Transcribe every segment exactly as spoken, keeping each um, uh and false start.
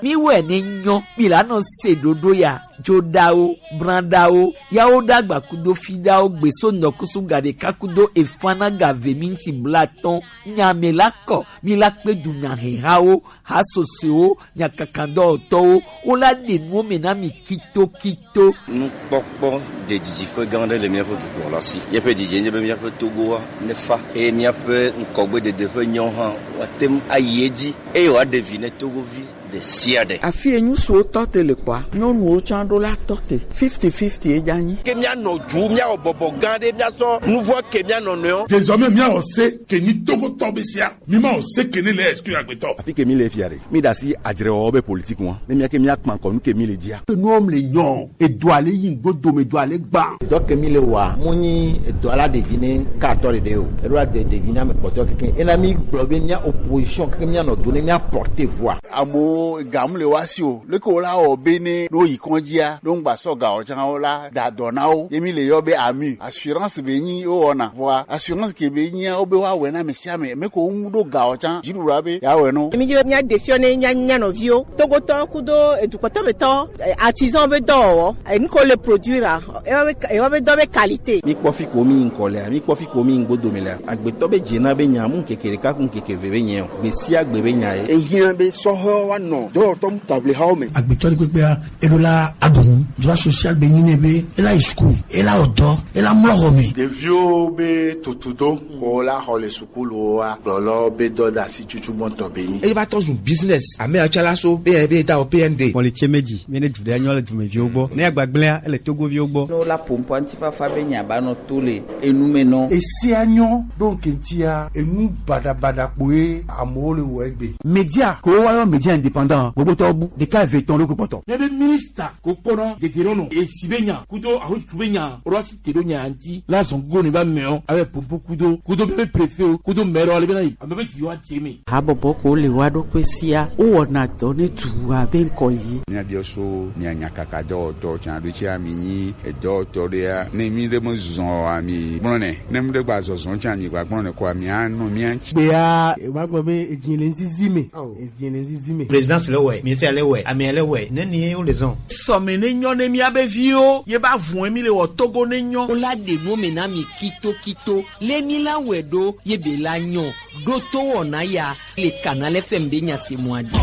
Mi wɛ ne nyɔ, mi la nɔ se ɖoɖo ya, joɖawo, branɖawo, yawo ɖagba kudo fiɖawo, gbeso nɔkusu gaɖeka kudo efanaga ve minti blatɔn, nya me la kɔ, mi la kpe du nya hehawo, ha sosoewo, nya kakandɔwɔtɔwo, wo la ɖe nuwo me na mi kito kito. Nukpɔkpɔ ɖe didiƒe gã aɖe le míaƒe dukɔ la si. Míaƒe didi nye be míaƒe Togoa nefa eye míaƒe ŋkɔgbedede ƒe nyawo hã woate ŋu ayi edzi eye wòaɖe vi ne Togovi ɖe sia ɖe. Afi yi ŋutsuwo tɔ te le kpɔa, nyɔnuwo tsã ɖo la tɔ te. Fifty fifty ye dza nyi. Ke míanɔ dzu, míawɔ bɔbɔ gã ɖe, míasɔ nuvɔ ke mía nɔnɔewo. Désormais, míawɔ se ke nyi Togotɔ be sia. Mi ma o se ke ne le estu agbetɔ. Afi ke mi le fia ɖe. Mi ɖe asi adzrewɔwɔ be politique ŋua. Ne mía ke mía kpa kɔ nu ke mi le dzia. Nuwo mle nyɔ. Edo ale yi ŋgo dome do ale gba. Dɔ ke mi le wa. Mo nyi edo ala ɖevi ne ka atɔ ɖeɖe o. Eɖo ade ɖevi na me kpɔtɔ keke. Ena mi gblɔ be mía opposition keke mía nɔ do ne mía porter voix. Amewo ga mu le wa si o. Leke wo la wɔ be ne no yi kɔndzia, ɖo ŋgba sɔ ga o tsã wo la da dɔ na wo. Ye mi le yɔ be ami. Assurance be nyi wo wɔna. Vɔa assurance ke be nyia wo be wa wɛ na ame sia ame. Ame ko ŋu ɖo ga o tsã. Dziɖuɖua be ya wɛ no. Mi dzi be mía ɖe fiɔ ne mía nya nɔviwo. Togotɔ kudo edukpɔtɔ be tɔ, eh, artisan be dɔwɔwɔ. Eh, nu ko le produire a. Ewa be, ewa be dɔ be qualité. Mi kpɔ fi ko mi ŋkɔ lea, mi kpɔ fi ko mi ŋgbo dome lea. Agbetɔ be dze na be nya mu ŋkeke ɖeka ku ŋkeke ve be nya o. Gbe sia gbe be nya ye. Ehiã be sɔhɛwo wa nɔ dɔwɔtɔ mu table hawo me. Agbetɔ ɖe kpekpea, eɖo la aɖu nu. Droit social be nyi nɛ be ela yi school, ela wɔ dɔ, ela mlɔ xɔ me. Ɖeviwo be tutudo ko la xɔ le sukuluwo wa gblɔlɔ be dɔdasi tutu gbɔntɔ be nyi. Eye va tɔ zu business. Ame atsalaso be be da o P N D. Mɔli tse meji, mi ne du ɖe anyɔ le dumeviwo gbɔ. Ne agbagblẽa, ele Togoviwo gbɔ. Ne wola ƒo ŋkɔa ŋutifafa be nya ba nɔ to le enu me nɔ. Esia nyɔ ɖo ŋke ŋutia, enu baɖabaɖa kpoe amewo le wɔ egbe. Media ko woyɔ media indépendant, gbogbo tɔ bu ɖeka eve tɔn ɖo kpɔtɔ. Ne be minista ko kpɔnɔ dede ɖo nɔ esi be nya kudo ahotutu be nya, woɖo asi te ɖo nya ŋuti. La zɔn gogo ne va mɛ o, abe pompo kudo, kudo be préfet o, kudo maire o, ale be na yi, ame be ti wa te me. Habɔbɔ ko le wa ɖo kpe sia, wowɔna dɔ ne du abe ŋkɔ yi. Míabiɔ so mia nyakaka dɔwɔtɔ tsa ɖo tsi ami nyi edɔwɔtɔ ɖea, ne mi ɖe me zɔn o ami gblɔ nɛ, ne mi ɖe gba zɔzɔn tsa mi gba gblɔ nɛ ko ami anɔ mia ŋtsi. Gbea, e wa gbɔ be edzi le nzizi me. Edzi le nzizi me. Présidence le wɛ, ministère le wɛ, amea le wɛ, ne ni wo le zɔn. Sɔme ne nyɔ ne mia be viwo, ye ba vun mi le wɔ Togo ne nyɔ. Wo la ɖe nu me na mi kito kito. Le mi la wɛ ɖo ye be la nyɔ. Ɖo to wɔna ya le Canal F M be nya se mɔ adi.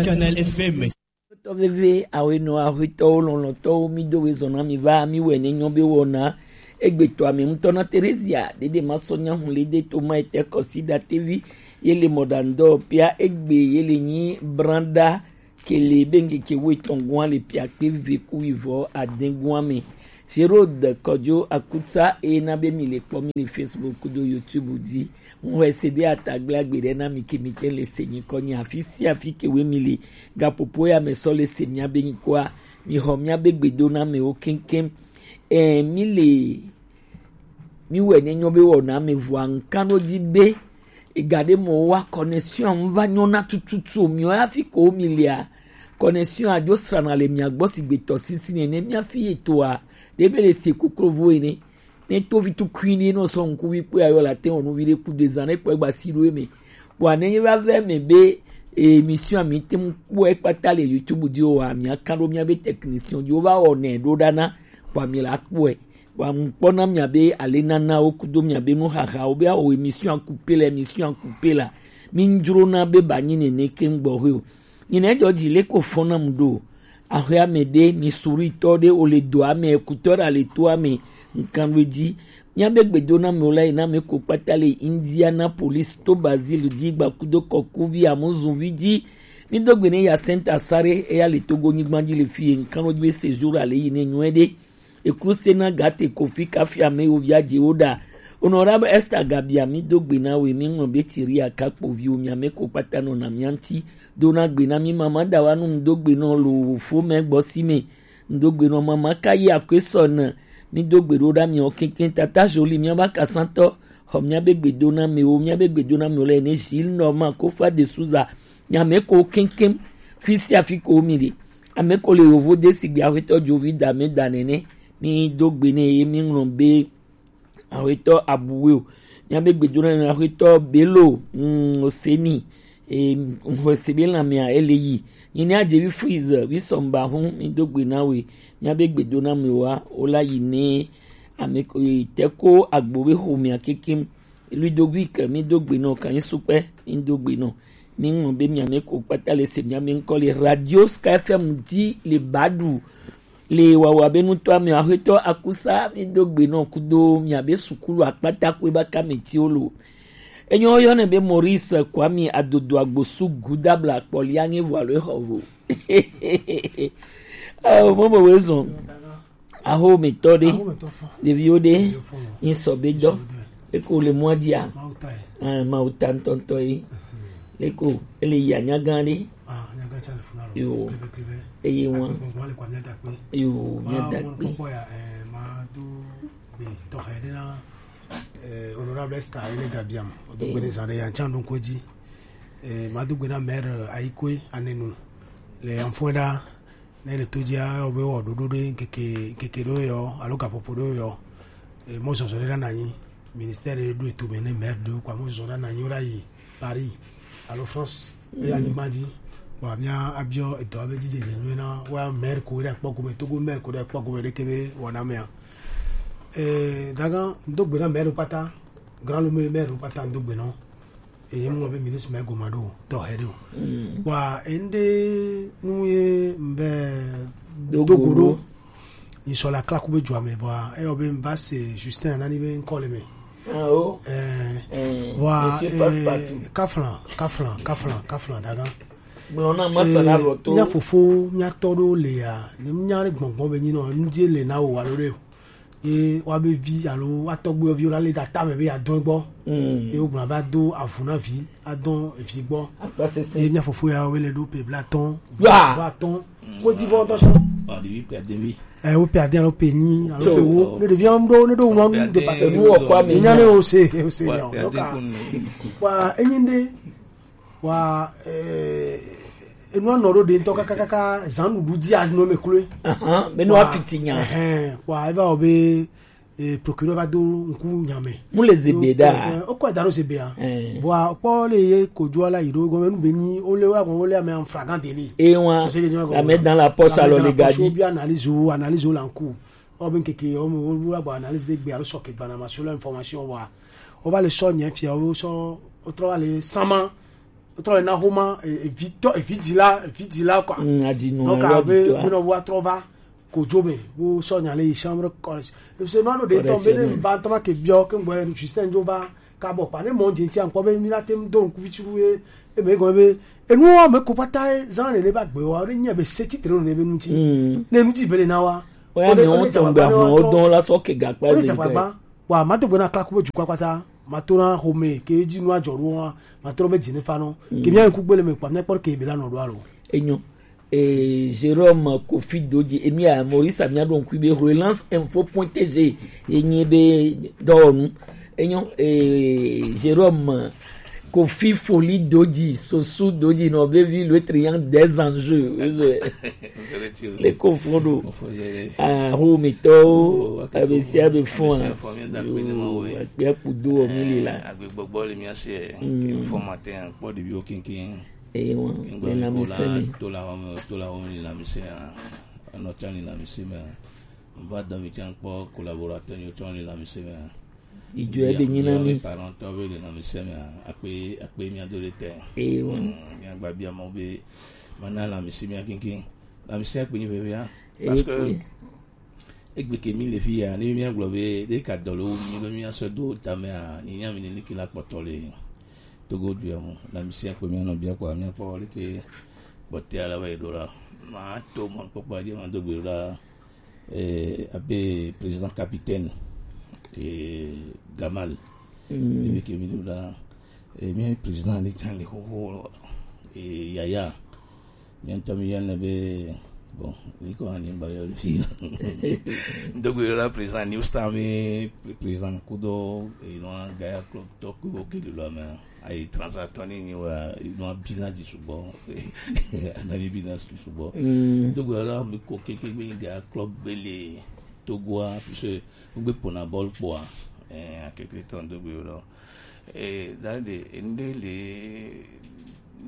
Canal F M. Tɔ veve awenɔ ahuetɔwo lɔlɔtɔwo mi do we zɔna mi va mi wɛ ne nyɔ be wɔna. Egbetɔ ame ŋutɔ na Teresia ɖeɖe ma sɔ nya hun le de to ma ete kɔsi da tevi ye le mɔɖaŋudɔ pia egbe ye le nyi branda. Kele be ŋkeke wuietɔn gua le piakpe ve ku wivɔ ade gua me. Gerode Kɔdzo Akutsa eye na be mi le kpɔ mi le Facebook kudo YouTube dzi. Ŋu xɔe se be atagble agbe ɖe na mi ke mi te le se nyikɔ nyi afi sia afi ke we mi le. Gaƒoƒo ya me sɔ le se mia be nyikɔa, mi xɔ mia be gbedonamewo keŋkeŋ. Ɛ, mi le Mi wɛ ne nyɔ be wɔna me vɔa ŋkan ɖo dzi be ega ɖe mɔ wa connexion ŋu va nyɔ na tututu o. Miɔ hafi ko mi lia connexion adzo srana le mia gbɔ sigbe tɔsisi nene mia fi etoa ɖe be le se koklo vo ene. Ne to vi tukui ne nɔ sɔ ŋku vi kpe ayɔ la te wɔnu vi ɖe ku de zan ne kpɔ egba si ɖo eme. Bɔa ne ye va vɛ me be emission mi te mu kpɔ ekpata le YouTube dzi o wa mia kan ɖo mia be technician dzi o va wɔ nɛ ɖo ɖa na bɔa mi la kpɔe. Wa ŋkpɔ na mia be ale nanawo kudo mia be nuxaxawo be awo emission akupe la, emission akupe la. Mi ŋdzro na be ba nyi nene ke ŋgbɔ hoe o. Nyi ne dzɔ dzi le ko fɔ na mu ɖo. Axwe ame ɖe mi suri tɔ ɖe o le do ame kutɔ ɖe ale to ame ŋkan ɖo dzi. Mia be gbedo na me o la yi na me ko kpata le Indianapolis to Brazil dzi gba kudo kɔkuvi amuzuvi dzi. Mi do gbe ne ya Saint Asare eya le Togo nyigba dzi le fi ye ŋkan ɖo dzi be séjour ale yi ne nyuɛ ɖe. Ekruse na gate kofi kafi ame wo via dzi wo ɖa. Honorable Esther Gabia mi do gbe na we mi ŋlɔ be tiri aka kpovi wo mi ame ko kpata nɔ na mia ŋti. Do na gbe na mi mama da wa nu mi do gbe nɔ lo wo fo me gbɔ si me. Mi do gbe nɔ mama ka yi akwe sɔ na mi do gbe ɖo ɖa mi o keŋkeŋ tata Jolie mi aba kasantɔ. Xɔ mia be gbedo na me wo mia be gbedo na me wo le ne Gilles Norman Kofa de Souza. Nya me ko keŋkeŋ fi sia fi ko mi le. Ame ko le yovo de sigbe axwetɔ dzovi da me da nene. Mi do gbe ne ye mi ŋlɔ be axwetɔ abuwe o. Míabe gbedona na axwetɔ Belo, mm, Oseni, e, Oseni be lãmea ele yi. Nyi ni adze vi Freeze, vi Sɔmba hu, mi do gbe na we. Míabe gbedona me wa, o la yi ne ame ko, e, te ko agbo be xomea kekem. Ludovic, mi do gbe nɔ, Kanyi Sukpɛ, mi do gbe nɔ. Mi ŋlɔ be mia me ko kpata le se mia me ŋkɔ le Radio Sky F M di le Badu. Le wawa be nutɔ ame axwetɔ Akusa, mi do gbe nɔ kudo mia be sukulu akpata ko eba kame ti o lo. Enyo yɔ ne be Maurice Kwame Adodo Agbosu Gudabla kpɔli ange vo alo exɔ vo. Ah, momo we zɔn. Aho mi tɔ de. Aho mi tɔ fɔ. Ɖeviwo de. Ɖeviwo fɔ. Yin sɔ be dɔ. Yin sɔ be dɔ. Eko le mɔ dia. Mawu ta ye. Ah, Mawu ta ŋutɔŋutɔ ye. Mhm. Eko ele yi anya gã ɖe. Ah, anya gã tsa le funa lo. Yo. Klebe, klebe. Eye wan. Akpɔ gbɔn le kwa mia da kpe. Yo, mia da kpe. Ma wo kpɔkpɔ ya, eh, ma do gbe tɔxɛ ɖe na, eh, honorable Esther Ele Gabiam. O do gbe ne zan ɖe ya tsa ɖo ŋkɔ dzi. Eh, ma do gbe na maire Ayikoe Anenu. Le Anfoeda. Ne le to dzia, ewɔ be wɔ ɖoɖo ɖe ŋkeke, ŋkeke ɖewo yɔ, alo gaƒoƒo ɖewo yɔ. E, mɔzɔzɔ ɖe la na anyi. Ministère ɖe ɖo eto me ne maire ɖewo kpa mɔzɔzɔ ɖe la na anyi, wo la yi Paris alo France, e, anyigba dzi. Bon, mia abiɔ edɔ be dzidzedze nyuie na wa maire ko ɖe kpɔ gome, Togo maire ko ɖe kpɔ gome ɖeke be wɔna mea. E, dagan, do gbe na maire kpata, grand lome maire kpata, do gbe na wo. Eye ŋlɔ be ministre mɛ goma ɖo tɔ hɛ ɖo. Wa ende nu ye mbe dogo ɖo. Ni sɔ la klaku be dua me vɔa eyɔ be mva se Justin Anani be ŋkɔ le me. Ah, oh. Eh, vɔa, eh, kaflan, kaflan, kaflan, kaflan dagan. Gblɔ na masa na lɔ to. Mia fofo, mia tɔ ɖo le ya, ne mia ɖe gbɔngbɔn be nyi nɔ, nu die le na wo wa ɖo ɖe o. Ye woabe vi alo woatɔgbuiwo viwo la lé ɖe atame be yeadɔe gbɔ. Mm. Ye wogblɔ be ado avu na vi, adɔ vi gbɔ. Akpasese. Ye mía fofo ya wobe le ɖo pe blaatɔ̃, Wa. Blaatɔ̃. Wodivɔ ŋutɔ sɔ. Ɔ, ɖevi kpɛ ɖevi. Ɛ, wo pe ade alo pe nyi alo pe wo. Ne ɖevia ŋu ɖo, ne ɖo ŋu ŋu de pase. Enu wɔ kɔ ame. Enya ne o se, o se nya o. Wa, enyi ɖe. Wa, eh, enua nɔ ɖo ɖe ŋutɔ kakakaka zan ɖuɖu dzi azinɔ me kloe. Ahan, be nua fiti nya. Ɛhɛn, wa, eva wɔ be, eh, procureur va do ŋku nya me. Mu le zebe da. Eh, okɔ da ɖo zebe a. Eh. Vɔa, kpɔ le ye kojoa la yi ɖo gɔme nu be nyi, o le wa gɔme, o le ame en flagrant délit. E wa, la met dans la poche alors le gars dit. Bi analyse o, analyse o la ŋku. O be ŋkeke, o me, o wa gba analyse de gbe alo sɔ ke gba na ma sur l'information wa. O va le sɔ nye fia, o sɔ, o trɔ va le sama. Trɔ yina xoma, e, evi tɔ, evi dila, evi dila, quoi. Mm, adinu. Donc, abe, bino wa trɔ va kojo me, bo sɔ nya le yi chambre correctionnelle. Parce que no, no, de tɔ, be ne ba tɔ ma ke biɔ, ke ngbe Justin jo va, ka bɔ pa ne mɔ je ti ankɔ be mi la tem do nku vitru ye, e me go be, e nu wa me ko pata e, zan ne le ba gbe wa, ne nye be se titre ne be nu ti. Mm. Ne nu ti be le na wa. O ya me o tɔ ngbe ahun o don la sɔ ke ga pa le. Wa, ma to gbe na klaku be dukɔ kpata, ma to na xɔme, ke dzi nua dzɔ ɖo wa, ma to be dzi ne fa nɔ. Mm. Ke mía ŋku gbele me kpa, mía kpɔ ke be la nɔ ɖo alo. Enyo. Eh, Jérôme Kofi Dodji, emi a Maurice, mía ɖo ŋkui be relance info point T G, enyi be dɔwɔnu. Enyo, eh, Jérôme Kofi Foli Dodji, Sosu Dodji, nɔ be vi le triangle des enjeux. Le ko fo ɖo. Aho mi tɔwo, abe sia be fɔn a. Akpe kudo o mi li la. Agbegbɔgbɔ le mía se, ke fɔ matin, kpɔ ɖeviwo kinkin. Eye wọn, le lãmesẽ me. To la wɔme, to la wɔme le lãmesẽ a. Anɔ tsã le lãmesẽ me a. Mva dɔ mi tsã kpɔ collaborateur yo tsã le lãmesẽ me a. Idzo ebe nyi na mi. Parent tɔ be le lãmesẽ me a, akpe, akpe mía do ɖe te. Eye wan. Mm, mía gba bia mɔ be mana lãmesẽ mía kinkin. Lãmesẽ akpe nyi vevia. Parce que egbe ke mi le fi ya, ne mía gblɔ be ɖe ka dɔ le wo mi be mía sɔ do tame a, ni nya mi ne ki la kpɔtɔ le Togo du ya mo. Lãmesẽ akpe mía nɔ bia kɔ, mía kpɔ le ke kpɔtɛ ala va yi ɖo la. Ma to mɔ kpɔkpɔ a je ma do gbe ɖo la. Eh, abe président capitaine, eh, Gamal. Mm. Ebi ke mi do la, eh, mi président le tsan le xoxo, eh, Yaya. Mi ŋutɔ mi yɔnɛ be, bon, mi ko ani ba yɔ le fi. Ŋdɔgbe la président New Star mi président kudo, eh, non, Gaïa Club tɔ kudo ke le lo me. Ayi transatɔ ni nyi wa, nɔ bi na dzi sugbɔ. Ana mi bi na dzi sugbɔ. Mm. Donc, alors, mi ko keke be nyi ga club gbele Togoa, puisque mi gbe pona bɔl kpɔa. Eh, akekle tɔ ŋdo gbe ɖo. Eh, dade, ende le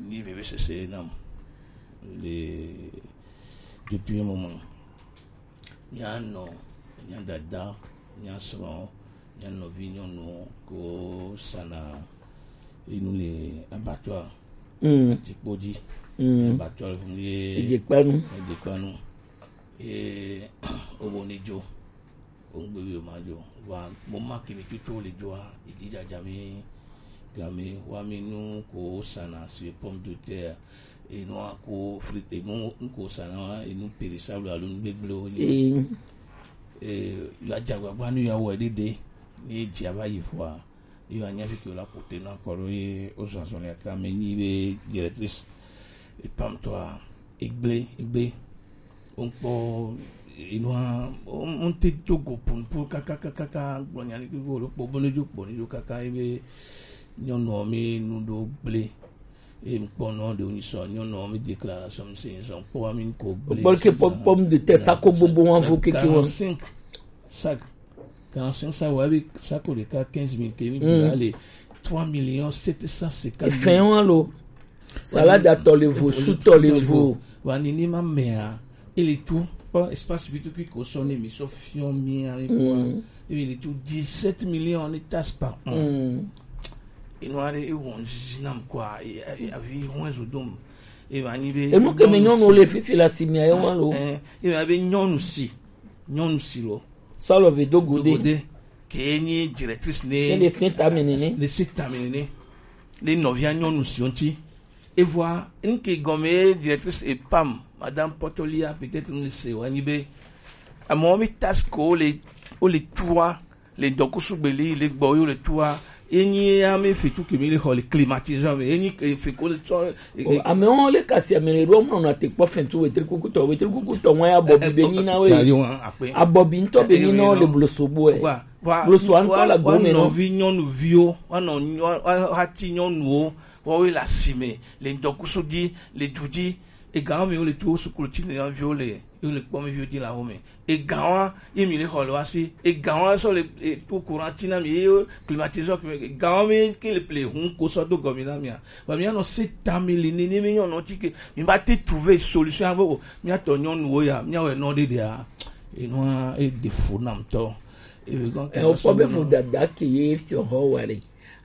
ni bebe sese nam. Le depuis un moment. Mía nɔ, mía dada, mía srɔ̃, mía nɔvi nyɔnu ko sana enu le abattoir. Mm. Atikpo dzi. Mm. Abattoir ye Ejekpanu. Ejekpanu. Ye obo ne dzo. Ongbe wi ma dzo. Wa mo ma ke mi tutu le dzoa, ejija dza mi game wa mi nu ko sana si pomme de terre. Enu ko frit, enu ko sana, enu périssable alo nu gbegble wo. Ee. Eh, ya dza gbagba nu ya wɔ ɖeɖe. Ni dzi ava yi vɔa, yo anya fi ke la pote na kɔrɔ ye o zɔzɔ le ka me ni be directrice. E pam tɔ a, egble, egble. Onkpɔ, inua, on te dogo punpun kaka, kaka, kaka, gblɔ nya ni ke go lo kpɔ, bo ne dzo kpɔ, ne dzo kaka, ebe nyɔnuɔ mi nu ɖo gble. Eye ŋkpɔ nɔ ɖewo nyi sɔ, nyɔnuɔ mi déclaration mi se nyi sɔ, ŋkpɔ wa mi ko gble. Bɔl ke pom-, pomme de terre, sako gbogbo wa vo keke wa. Quarante-cinq sacs. Quarante-cinq sacs, wa bi sako ɖeka quinze mille ke mi gbe ale trois millions sept cent cinquante mille. Efɛn wa lo. Salade tɔ le vo, su tɔ le vo. Wa ni ni ma mea, ele tu, kpɔ espace vi tukui ko sɔ ne mi sɔ fiɔ mi a mi kpɔ. Mm. Ele tu dix-sept millions ni taxe par an. Mm. Enu aɖe ewɔ ŋzizi nam kɔa, e, e, avi hɔn ezo dom. Eva nyi be enu ke me nyɔnu le fifi la si mia ye wa lo. Eh, eva be nyɔnu si, nyɔnu si lo. Sɔlɔ ve do gode. Do gode. Ke nyi directrice ne. Ne le sin ta me nene. Le sin ta me nene. Le nɔvia nyɔnu si ŋti. Evɔa, nke gɔme ye directrice e pam, Madame Potolia, peut-être ne se wa nyi be. Amewo mi taxe ko le, wo le tua, le ŋdɔkusu gbe li le gbɔ yo le tua, enyi ya mi fetu ke mi le xɔ le climatiseur me, enyi ke fe ko le tsɔ, e, e, amewo le kasi ame le ɖo mɔ na te kpɔ fɛn tu wetri kuku tɔ, wetri kuku tɔ ŋwa ya abɔbi be nyi na we. Abɔbi ŋtɔ be nyi na wo le bloso bo ɛ. Bloso ŋtɔ la gome nɔ. Nɔvi nyɔnuviwo, wa nɔ, wa, wa, wa ti nyɔnuwo, wɔwoe le asime, le ŋdɔkusu dzi, le du dzi, ega wo me wo le tu wo sukulu ti ne viwo le, wo le kpɔ mi viwo dzi le awo me. Ega wa ye mi le xɔ le wa si. Ega wa sɔ le, e, to courant ti na mi ye climatiseur ke me. Ega wa me ke le ple hun ko sɔ do gɔmi na mi a. Ba mi anɔ se ta mi li ni ni mi nyɔ nɔ ti ke mi ba te trouver solution a bo. Mi atɔ nyɔnuwo ya, mi awɛ nɔ de de a. Enua e de fo nam tɔ. E be gɔn ke. E o kpɔ be vodada ke ye fiɔ xɔ wa le.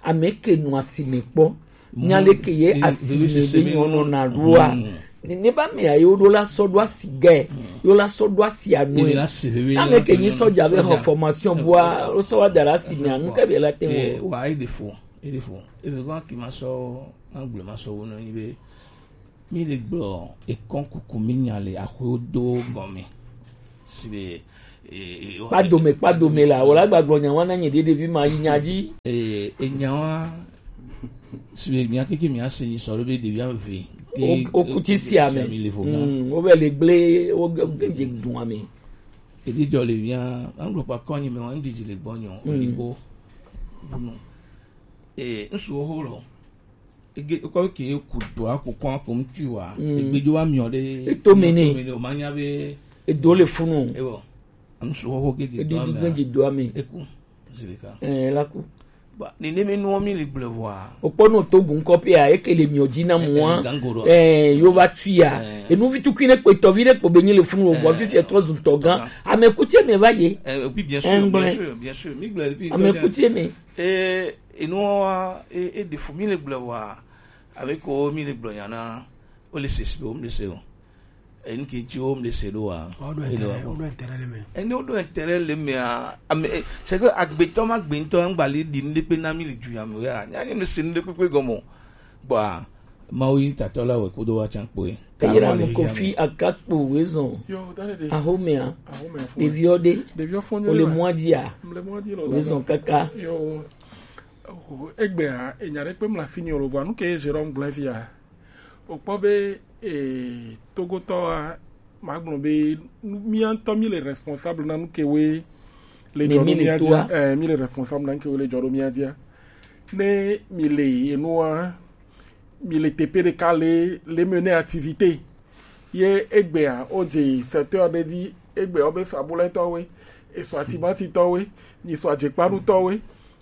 Ame ke nu asime kpɔ. Nya leke ye asime be nyɔnu na ɖoa. Ne, ne ba mea ye wo ɖo la sɔ ɖo asi gɛ. Yo la sɔ ɖo asi anu. Ame ke nyi sɔdza be xɔ formation bua, wo sɔ wa da ɖe asi mea, nu ke be la te wo. Wa e de fo, e de fo. E be gɔn ki ma sɔ, ma gblɔ ma sɔ wo nɔ nyi be mi le gblɔ ekɔn kuku mi nya le axwewo do gɔme. Si be, e, e, kpadome, kpadome la, wala gba gblɔ nya wa na nye ɖe ɖevi ma yi nya dzi. E, e nya wa, si be mia keke mia se nyi sɔ ɖo be ɖevi ave. O, o kuti si ame. Mm, wo be le gble, wo ge, ge dze dun ame. E di jɔ le mia, an gblɔ pa kɔnyi me wa, n di dzi le gbɔ nyɔ, o di bo. Bunu. E, n su wo ho lɔ. Ege, kɔ ke ku do a ku kɔn ko ŋtui wa. Mm. Egbe jo wa miɔ ɖe. Eto me ne. Eto me ne, o ma nya be. Edo le funu. Ewɔ. Am su ho ge di do ame. Edu ge di do ame. Eku. Zilika. Eh, la ku. Ba, ni ne me nuɔ mi le gblɔ vɔa. O kpɔ no to gun kɔpi a, eke le miɔ dzi na mua. Eh, eh, gango ɖo. Eh, yo va tui a. Eh. Enu vi tukui ne kpe tɔ vi ɖe kpo be nyi le funu o, vɔ fi fi etrɔ zu tɔ gan. Ame kutie me va ye. Eh, oui, bien sûr, bien sûr, bien sûr. Mi gblɔ depuis. Ame kutie me. Eh, Enua, e, e ɖe fu mi le gblɔ wa, ame ko mi le gblɔ nya na, o le se si be o mi le se o. Enu ke ti o mi le se ɖo wa. O ɖo intérêt, o ɖo intérêt le me. Ene o ɖo intérêt le me a, ame, e, c'est que agbetɔ ma gbetɔ ŋgba le ɖi nu ɖe kpe na mi le du ya me ya. Nya ni mi se nu ɖe kpekpe gɔme o. Gbɔa, Mawu yi tatɔ la wɛ kudo wa can kpoe. Eyra mo Kofi Agakpo wezɔn. Yo, dale de. Ahomea. Ahomea fo. Ɖeviwo ɖe. Ɖeviwo fo nyo. Ole mwa dia. Mle mwa di lo. Wezɔn kaka. Yo. Oh, egbea, enya ɖe kpe mla fini o lo vɔ, nu ke Jérôme gblẽ fia. O kpɔ be, eh, Togotɔ a, ma gblɔ be, nu, mía ŋutɔ mi le responsable na nu ke we le dzɔ ɖo mía dia. Eh, mi le responsable na nu ke we le dzɔ ɖo mía dia. Ne mi le enua, mi le teƒe ɖeka le, le mener activité. Ye egbea, o dze secteur ɖe dzi, egbea o be sabulɛtɔwoe, esɔ atimatitɔwoe, nyi sɔ ajekpanutɔwe.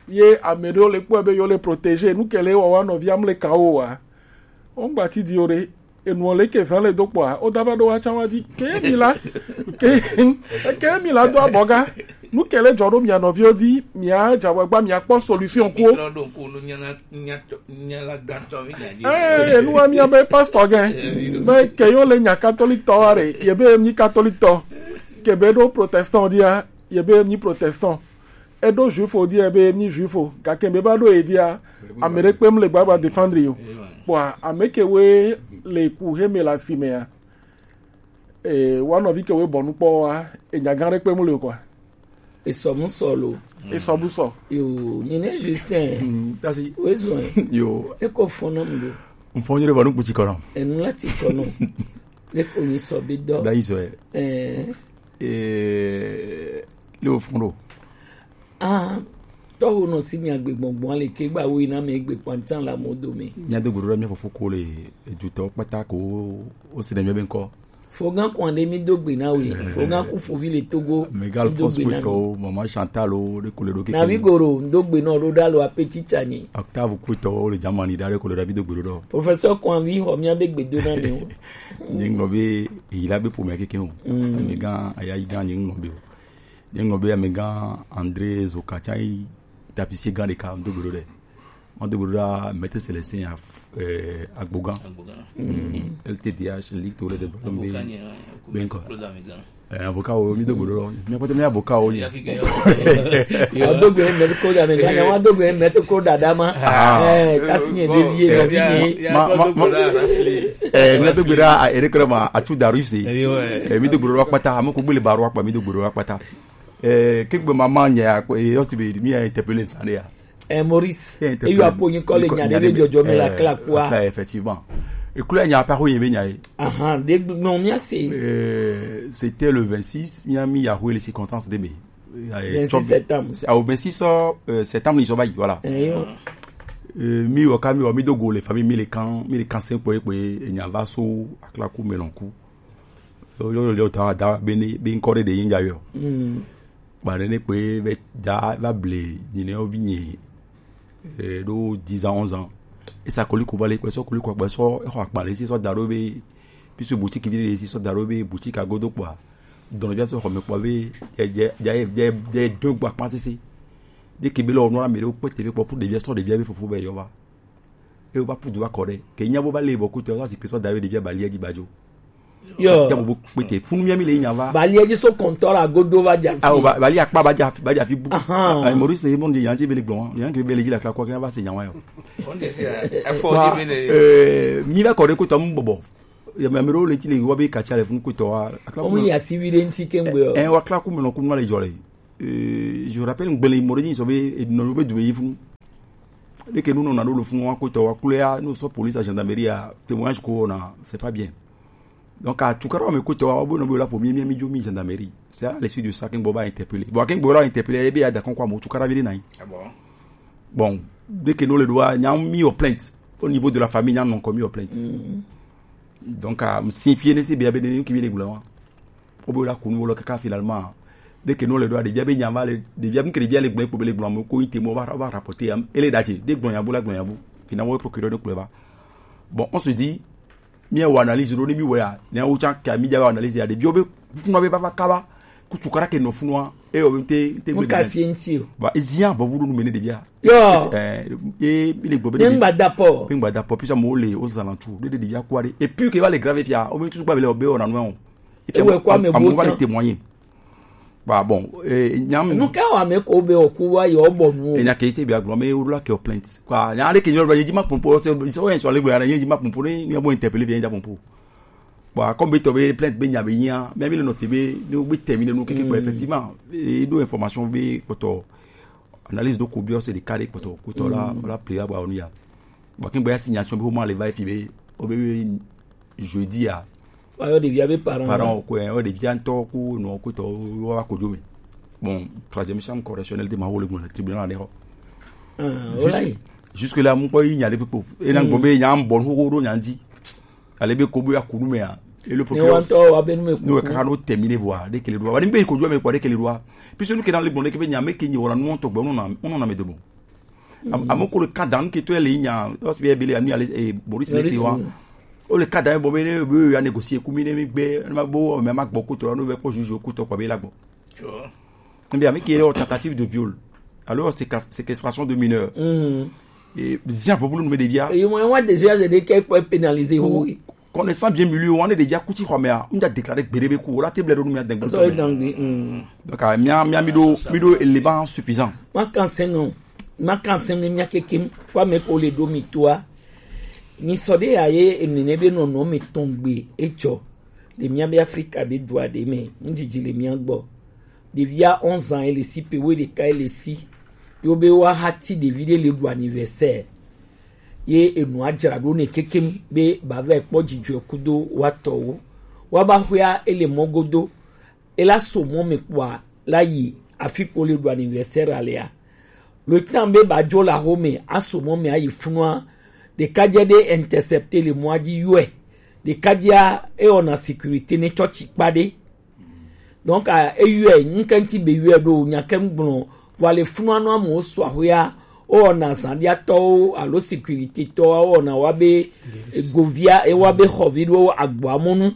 Ye ame ɖewo le kpɔe be yewo le protégé, nu ke le wɔwa nɔvia mle kan wo wa. Wo ŋgba ti di o ɖe, enu le ke zan le do kpɔa, wo da va ɖo wa can wa di. Ke mi la, ke, ke mi la do abɔga. Nu ke le dzɔ ɖo mia nɔviwo di, mia dza wɔ gba, mia kpɔ solution ko. Mitrɔ ɖo ŋku nu nyala, nyatɔ, nyala gãtɔ mi nya di. Eh, enu wa mia be pastor gɛ. Eh, mi ɖo. Be ke yo le nya catholique tɔ wa ɖe, ye be mi catholique tɔ. Ke be ɖo protestant dia, ye be mi protestant. Eɖo juifo dia be mi juifo, gake be va ɖo ye dia, ame ɖe kpem le gbagba défendre yo. Kpɔa, ame ke we le ku he me la si mea, e, wa nɔvi ke we bɔ nukpɔ wa, e nya gã ɖe kpem le o kɔa. Esɔ mu sɔ lo. Esɔ bu sɔ. Yo, nyi ne Justin. Mm, tasi. We zɔn. Yo. E ko fɔn na mu do. N fɔn yɛrɛ ba nu kutsi kɔnɔ. Enu la ti kɔnɔ. Ne ko nyi sɔ bi dɔ. Da yi sɔ ye. Eh. Eh, le o fɔn do. Ah, tɔwo nɔ si mia gbe gbɔngbɔn le ke gba wo yi na me gbe kpantan la mo do me. Mia do gbɔdɔ mia fofo ko le edutɔ kpata ko o si ne mia be nkɔ. Fogan kwan de mi do gbe na we. Fogan ku fovi le Togo. Megal mi do Force gbe na mi. Kutɔ, Maman Chantal o, de ko le do keke. Na wi goro, do gbe na o do da lo apeti tani. Octave kutɔ, o le Germany da de ko le da mi do gbe do. Professeur kwan wi ho mia be gbe do na mi o. Nye ŋlɔ be, yi la be po mia keke o. Mm. Megan, aya yi gan nye ŋlɔ be o. Nye ŋlɔ be amegã André Zoka tsa yi tapissier gã ɖeka do gbe ɖo ɖe. Ma do gbe ɖo ɖa Maître Célestin ya, eh, Agbogan. Agbogan. Mm. L T D H, Ligue Tour de Ballon. Avocat ni, eh, ben quoi. Claude Amegan. Eh, avocat wo, mi do gbe ɖo. Mi kpɔtɔ mi avocat wo ni. Ya kike yo. Wa do gbe Maître Claude Amegan, wa do gbe Maître Claude Adama. Ah. Eh, kasi nye bon, de vie, eh, no bien, vie. Ya ma, ma, ma, eh, mi do gbe ɖo a, Eric Rema, Atou Darius. Eh, ouais. Eh, mi do gbe ɖo akpata, ame ko gbele baro akpa, mi do gbe ɖo akpata. Eh, kegbe mama nya ko, eh, osi be mi a interpeller ça ya. Eh, Maurice, eh, interpeller. Eyo apo yin kɔle nya de be jɔjɔ me la kla kwa. Kla, effectivement. E kula nya pa ko yin be nya e. Aha, de gbɔn mi ase. Euh, c'était le vingt-six, mi a mi ya les circonstances de me. Vingt-six septembre. C'est au vingt-six, euh, septembre, ils sont, voilà. Eh, yo. Euh, mi wo ka mi wo mi do go le famille mi le kan, mi le kan sen po e po e nya va so akla ku melon ku. Yo, yo, yo, ta da be ni, be nkɔ ɖe ɖe yin ja yo. Mm. Ba ne ne kpe be da va ble ni ne ovi ni, eh, ɖo dix ans, onze ans. E sa koliko va le kpe sɔ koliko kpe sɔ e xɔ akpa le si sɔ da ɖo be, puisque boutique vi le si sɔ da ɖo be boutique agodo kpɔa. Dɔnɔ bia sɔ xɔ me kpɔ be, je, je, je, je, je do gba kpa sese. Ɖe ke be le o nɔ la me ɖo kpe te be kpɔ pour ɖevia sɔ ɖevia be fofo be yɔ va. E wo va pu du va kɔ ɖe. Ke nya bo va le bɔ kutɔ, va si kpe sɔ da ɖo ɖevia bali edzi ba dzo. Yo. Ya bo bo kpete. Funu mia mi le nya va. Bali edzi so kɔntɔ la godo va dza fi. Ah, o ba, bali akpa ba dza fi, ba dza fi bu. Ahan. Ah, Maurice, e mon di yan ti be le gbɔn. Yan ke be le dzi la kla kɔ ke va se nya wa yo. On de se, eh, efo di be le. Eh, mi va kɔ ɖe kutɔ mu bɔbɔ. Ya mi ame ɖewo le ti le wɔ be katsia le funu kutɔ wa. Akla. Omu ya si wi ɖe ŋti ke ŋgbe o. Eh, wa kla ku me nɔ ku nɔ le dzɔ le. Euh, je rappelle, ngbele mo de so be, e no be du be funu. Dès que nous, on a le fond, on a côté, on a coulé, nous sommes police, à gendarmerie, à témoignage, quoi, on a, c'est pas bien. Donc, à tout cas, on me côté, on a bon, on a la pour mi, mi, mi, mi, gendarmerie. C'est à la suite de ça qu'un boba a interpellé. Bon, qu'un boba a interpellé, et bien, d'accord, quoi, mon tout cas, il y a rien. Ah bon? Bon, dès que nous, le doigt, on a mis aux plaintes. Au niveau de la famille, on a non commis aux plaintes. Mm. Donc, à me signifier, c'est bien, bien, qui vient les gouvernements. O be la kunu wo lɔ kaka finalement. Dès que nous le doit, ɖevia be nya va le, ɖevia be ke ɖevia le gblɔ kpo be le gblɔ ame ko ite mo va, va rapporter am. Ele da tse, de gblɔ nya bo la gblɔ nya bo. Finalement, procureur de kplɔe va. Bon, on se dit, mi wa analyse ɖo ni mi wɔ ya. Ne wo tsa ka mi dza wa analyse ya. Ɖeviwo be, funu be va va kaba. Kutu kara ke nɔ funua. E yo be te, te. Mo gbe ka de. Fie ŋti o. Ba, ezia, vɔ vuɖu nu me ne ɖevia. Yo. Eh, e, mi le gblɔ be. Ne ŋgba da pɔ. Mi ŋgba da pɔ, puisque mo le aux alentours. De, de, ɖevia kua ɖe. Et puis que va le grave fia. O mi tu gba be le o be o na nu o. Ewɔe kɔ ame amewo va le témoigner. Bah bon, eh, nyam. Nu ka wɔ ame ko be oku wa yɔ bɔ nu o. Enya ke se bia gblɔ me wo la ke o plainte. Quoi, nya le ke nyɔ ba ye di ma pompo, se se o en so le gbe ara ye di ma pompo ni, ni bo interpeller bien da pompo. Bah, comme be to be plainte be nya be nya, mais mi le note be, ni o be terminer nu keke quoi, effectivement. E do information be kpoto. Analyse do ko bi o se de carré kpoto, kpoto la, la prière ba onu ya. Bon, kin gba signation be o ma le va fi be, o be jeudi a. Wa yɔ ɖevia be parent. Parent ko, eh, o ɖevia ŋtɔ ko no ko tɔ wa ko jo me. Bon, troisième chambre correctionnelle de ma wo le gblɔ le tribunal ne ho. Ah, jusque, alright. Jusque là, mo ko yi nya le popo. E na gbɔ be nya mbɔ ho do nya ndi. Ale be ko bo ya kunu me a. Et le procureur, nous, quand on termine voir, dès que les lois, on dit, mais il faut jouer, mais quoi, dès que les lois. Puis celui qui est dans le bon, dès que vient, mais qui n'y aura non, on tourne, on en a, on en a mis de bon. Amo ko le kada nke to le nya, o si be bele ani ale e Boris le siwa. O le kada bo me ne be ya négocier ku mi ne mi gbe, ma bo me ma gbo ku to no be ko juge ku to ko be la gbo. Bien, mais qui est en tentative de viol. Alors, c'est séquestration de mineurs. Et bien, vous voulez nous mettre des vias. Et moi, moi, déjà, j'ai des quelques pénalisés. Connaissant bien milieu, on est déjà kuti kwa mea, on a déclaré bérébé kou, la table de nous a déclaré. Donc, mia mia mido mido élément suffisant. Ma kanse no. Ma kanse no mia kekim kwa me ko le do mi toi. Ni so de aye enene be no no mi tongbe echo. De mia be Africa be dua de me. Ndidi le mia gbo. De via onze ans ele si pe we de ka ele si. Yo be wa hati de vide le do anniversaire. Ye enu ajra ɖo ne kekem be bava ekpɔ dzidzɔe kudo watɔwo. Wa ba hwea ele mɔ godo. Ela so mɔ me kpɔa la yi afi ko le ɖo anniversaire alea. Le temps be ba dzo la home aso mɔ me ayi funua. Ɖekadze ɖe intercepter le mɔa dzi yɔe. Ɖekadzea ewɔna sécurité ne tsɔtsi kpa ɖe. Donc, eyɔe, ŋkɛntsi be yɔe ɖo, nyakɛ ŋgblɔ, vɔ le funua nɔ amewo sɔ ahoya, wowɔna zãɖiatɔwo alo sécurité tɔwo, wowɔna wa be govia, ewa be xɔvi ɖo agboa mɔnu,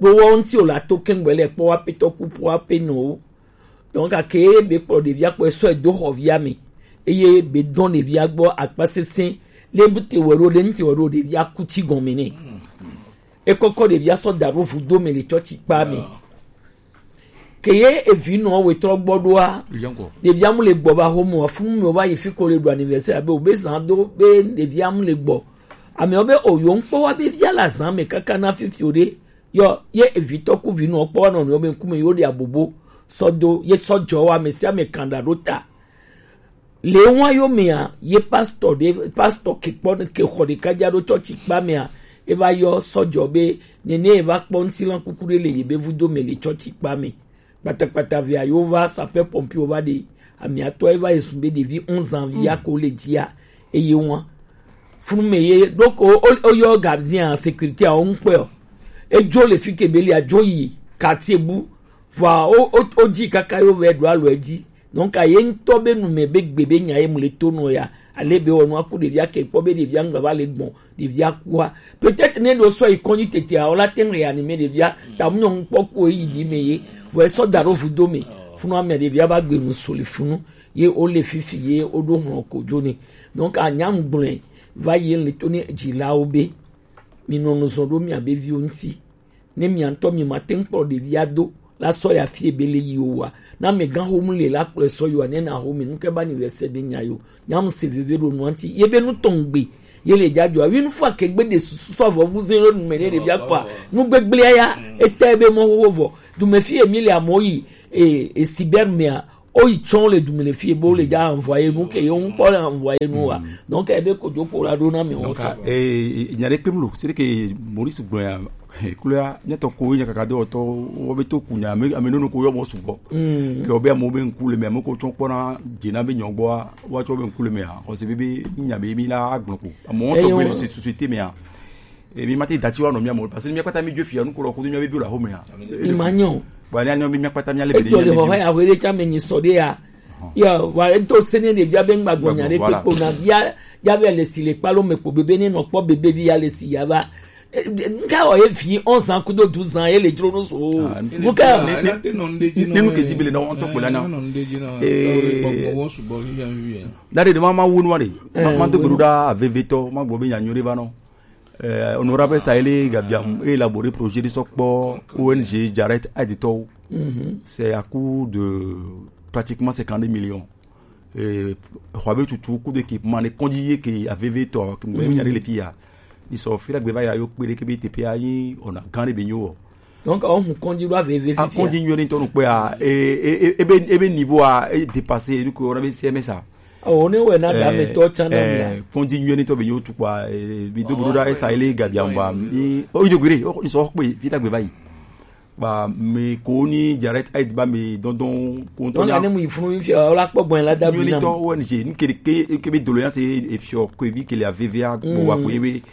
ɖo wɔ ŋti wòle ato kɛŋgbɛ le kpɔ wa petɔ ku po wa pe nɔwo. Donc, ake be kplɔ ɖevia kpɔ esɔ edo xɔvia me, eye be dɔn ɖevia gbɔ akpa sesẽ, le bu te wɛ ɖo, le ŋti wɛ ɖo, ɖevia ku tsi gɔme nɛ. Ekɔkɔ ɖevia sɔ da ɖo vudo me le tsɔtsi kpa me. Ke ye evi nɔ wetrɔ gbɔ ɖoa, ɖevia mu le gbɔ va home wa funu me wa yi fi ko le ɖo anniversaire abe o be zan do be ɖevia mu le gbɔ. Amewo be o yo ŋkpɔ wa be via la zan me kaka na fifi o ɖe. Yɔ ye evi tɔ ku vi nɔ kpɔ wa nɔ nɔ be ŋkume yo ɖe abobo sɔ do ye sɔ dzɔ wa me sia me kan ɖa ɖo ta. Le wa yo mea, ye pastor ɖe, pastor ke kpɔ ke xɔ ɖeka dza ɖo tsɔtsi kpa mea, e va yɔ sɔdzɔ be nene e va kpɔ ŋutilan kuku ɖe le ye be vudo me le tsɔtsi kpa me. Kpatakpata via yo va sapeur pompier wo va ɖe amiatɔ e va yi sun be ɖevi onze ans vi ya ko le dzia eye wa. Funu me ye ɖo ko o yɔ gardien sécurité a wo ŋkpɛ o. Edzo le fi ke be le adzo yi quartier bu. Vɔa o o o dzi kaka yo vɛ ɖo alo edzi. Donc, aye ŋutɔ be nu me be gbe be nya ye mu le to nɔ ya. Ale be wɔ nua ku ɖevia ke kpɔ be ɖevia ŋgba va le gbɔn ɖevia kua. Peut-être ne ɖo sɔ yi kɔnyi tete a, o la te ŋ réanimer ɖevia. Ta mu nyɔnu kpɔ ku yi di me ye. Vɔ esɔ da ɖo vudo me. Funu ame ɖevia va gbe nu so le funu. Ye o le fifi ye o ɖo hlɔn ko jo ne. Donc, anya ŋgblɔe va ye le to ne dzilawo be. Mi nɔ nu zɔn ɖo mia be viwo ŋuti. Ne mia ŋutɔ mi ma te ŋu kplɔ ɖevia do la sɔ ya fie be le yi o wa. Na me gan xomu le la kplɔe sɔ yo ne na xo mi nu ke ba anniversaire be nya yo. Nya mu se veve ɖo nua ŋuti. Ye be nu tɔn gbe. Ye le dza dzɔa. Wi nu fɔ ke gbe de susu sɔ vɔ vu ve ɖo nu me ne ɖevia kpɔa. Nu gbegblea ya. Eta be mɔ xoxo vɔ. Du me fi emi le amewo yi. E, e cyber mea. O yi tsɔn le dume le fie bo le dza envoyer nu ke yo ŋkpɔ le envoyer nu wa. Donc ebe kodzo kpo la ɖo na mi wo. Donc, eh, nya ɖe kpem lo, c'est que Maurice gblɔ ya, klo ya, nya tɔ ko nya kaka do tɔ, wo be to ku nya, ame, ame nono ko yɔ mɔ sugbɔ. Ke wo be amewo be ŋku le me, ame ko tsɔ kpɔna dze na be nyɔ gbɔa, wa tsɔ be ŋku le me a, xɔse be be nya be mi la agblɔ ko. Amewo tɔ gbe le société me a. E mi ma te dati wa nɔ mia mo, parce que mia kpata mi jo fia nu ko lɔ ko mia be bi la home ya. Imanyɔ. Bon, ni anyo mi mia kpata mia le be. Ejo le ho ya wele cha me ni so de ya. Ya, wa e to sene de via be ngba gbonya de pe po na via, ya be le si le pa lo me po bebe ni no po bebe via le si ya ba. Nga o e fi onze ans kudo douze ans e le dro no so. Buka. Ni nu ke di bele na on to po la na. Eh. Dade de mama wonu wa de. Mama to beru da aveve to, ma gbo be nya nyore ba no. Euh, honorable Saïlé Gabiam élaboré projet de sokpo O N G Jaret Adito. C'est à coût de pratiquement cinquante-deux millions. Euh, Huawei tutu, coût d'équipement, les conditions que A V V to, que nous avons les filles. Ils sont fait la gbeva ya yo kpere ke B T P a yi ona gane be nyo. Donc on continue à vivre. A continue ni to no pe a e e e be niveau a e dépasser du ko na be C M S a. O ne we na da me to chana mi a. Continue ni to be yo tu kwa e bi do bro da e sa ile ga bi amba. O ido gure o ni so pe fi ta gbe bayi. Ba me ko ni Jaret Aid ba me don don ko to na. Ne mu ifunu mi fi o la po bon la da bi na. Ni to O N G ni ke ke ke be doléance e fi o ko bi ke le a V V a bo wa ko e be.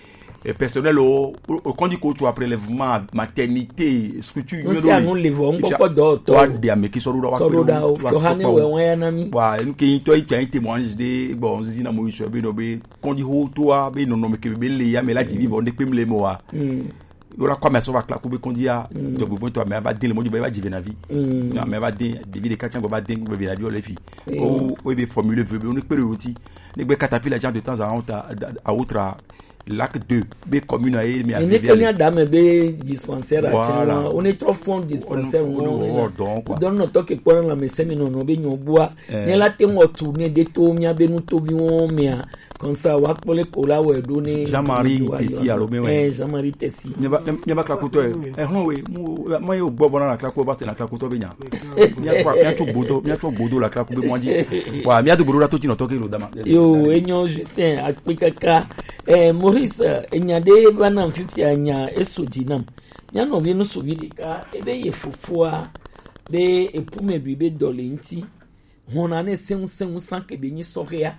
Et personnel o, o, o kɔndi ko tu après lèvement, maternité, structure. Non, c'est à nous le voir, on peut pas d'autres. Wa de ameki sɔrɔ da, wa sɔrɔ da, o sɔ hane wɛ wɛ ya na mi. Wa, nu ke yin to ita yin témoignage de, bon, zizi na mo isu be no be kɔndi ho to a be no no me ke be le ya me la di vivre ne pe mle mo wa. Yo la kwa me so va kla ku be kɔndi a. Donc bon to me va de le mo di be va di ve na vi. Na me va de, de vi de ka chango va de be la di o le fi. O, o be formuler vœu be o ne pe le oti. Ne be caterpillar genre de temps à autre, à autre, Lac deux be commune a ye mi. Ne ke nya da me be dispensaire a. Voilà. On est trop fond dispensaire. On est donc quoi. Donne notre que pour la me semi non non be nyo boa. Ne la te mo tourner de to mi a be nu to bi won mi a. Comme ça wa kpole ko la we do ne Jean-Marie Tessi alo me we. Eh, Jean-Marie Tessi. Ne ba ne ba kla kuto e. Eh hon we mo mo yo gbo bona la kla ko ba se la kla kuto be nya. Mi a tso mi a tso gbodo mi a tso gbodo la kla ku be mo di. Wa mi a to gbodo la to ti no to ke lo dama. Yo enyo Justin akpikaka. Eh, Maurice, eh, enya ɖe va nam fifia nya eso dzi nam. Mía nɔvi ŋutsuvi ɖeka, ebe ye fofoa be epume ɖui be dɔ le ŋuti. Hɔna ne sɛŋu sɛŋu san ke be nyi sɔhɛa.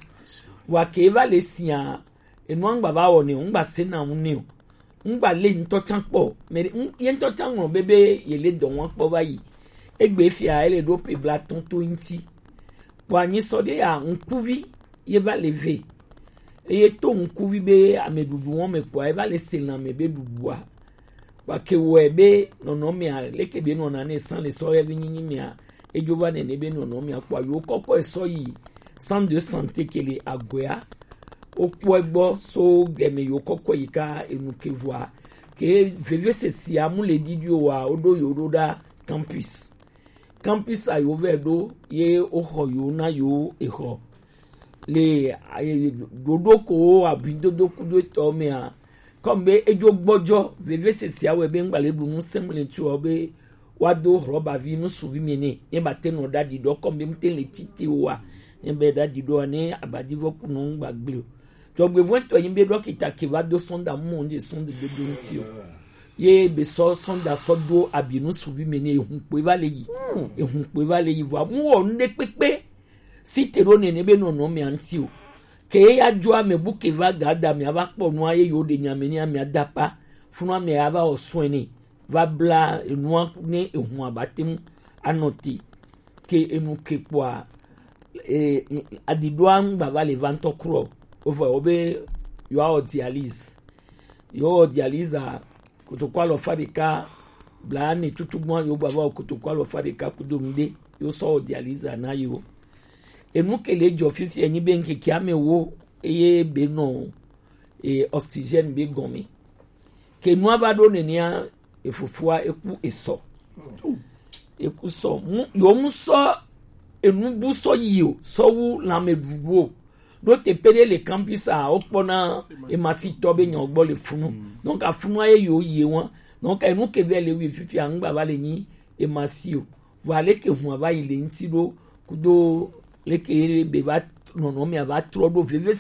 Wa ke eva le sia, enua ŋgba va wɔ ne o, ŋgba se na ŋu ne o. Ŋgba le ŋutɔ tsã kpɔ. Mɛ ɖe, ŋ-, ye ŋutɔ tsã ŋlɔ be be ye le dɔ wɔm kpɔ va yi. Egbe fia ele ɖo pe bla tɔn to ŋuti. Kpɔ anyi sɔ ɖe ya ŋkuvi ye va le ve. Eye to ŋkuvi be ameɖuɖu wɔm me kpɔa, eva le se lãme be ɖuɖua. Kpake wɔe be nɔnɔmea, leke be nɔna ne san le sɔ yɛvi nyinyi mea, edzo va nene be nɔnɔmea kpɔa, yo kɔkɔ esɔ yi centre de santé ke le Agbea. Wokpɔe gbɔ so gɛme yo kɔkɔ yi ka enu ke vɔa. Ke veve sesia mu le ɖiɖi o wa, woɖo yo ɖo ɖa campus. Campus a yo vɛ ɖo ye woxɔ yo na yo exɔ. Le, eh, ɖoɖo ko wo abidodo kudo etɔ mea, comme be edzo gbɔdzɔ, veve sesia wɛ be ŋgba le ɖu nu sɛmlɛ tso be wa do rɔba vi nu suvi mi ne, ne ba te nɔ ɖa ɖi ɖɔ comme be mte le tite wa, ne be ɖa ɖi ɖɔ ne abadivɔ kunu ŋgba gble o. Dzɔgbevɔntɔ nyi be ɖɔkita ke va do sɔnda mu mo nje sɔnda be do ŋuti o. Ye be sɔ sɔnda sɔ do abi nu suvi mi ne ehun kpe va le yi. Ehun kpe va le yi vɔ mu wɔ nu ɖe kpekpe. Si te ɖo nene be nɔnɔ mia ŋuti o. Ke ye ya dzo ame bu ke va ga da mia va kpɔ nua ye yo ɖe nya me ne amia da pa. Funu amia ya va wɔ sɔe ne. Va bla enua ne ehun aba te mu anɔ te. Ke enu ke kpɔa, e, e, aɖiɖoa ŋgba va le va ŋutɔ krɔ. Wovɔ wo be yewoawɔ dialyse. Yewoawɔ dialyse a, kotoku alɔfa ɖeka bla ne tutu gbɔn yewo gba va wɔ kotoku alɔfa ɖeka kudo nu ɖe, yewo sɔ wɔ dialyse a na yewo. Enu ke le dzɔ fifi enyi be ŋkeke ame wo eye be nɔ, e, oxygène be gɔme. Ke nua va ɖo nenea, efofoa eku esɔ. Eku sɔ. Mu, yo mu sɔ enu bu sɔ yi o, sɔ wu lãme ɖuɖu o. Ɖo te pe ɖe le campus a, wokpɔna emasitɔ be nyɔ gbɔ le funu. Donc afunu ye yo yi wa. Donc enu ke vɛ le wi fifi a, ŋgba va le nyi emasi o. Vɔ aleke hun ava yi le ŋuti ɖo kudo leke be va nɔnɔ mia va trɔ ɖo veve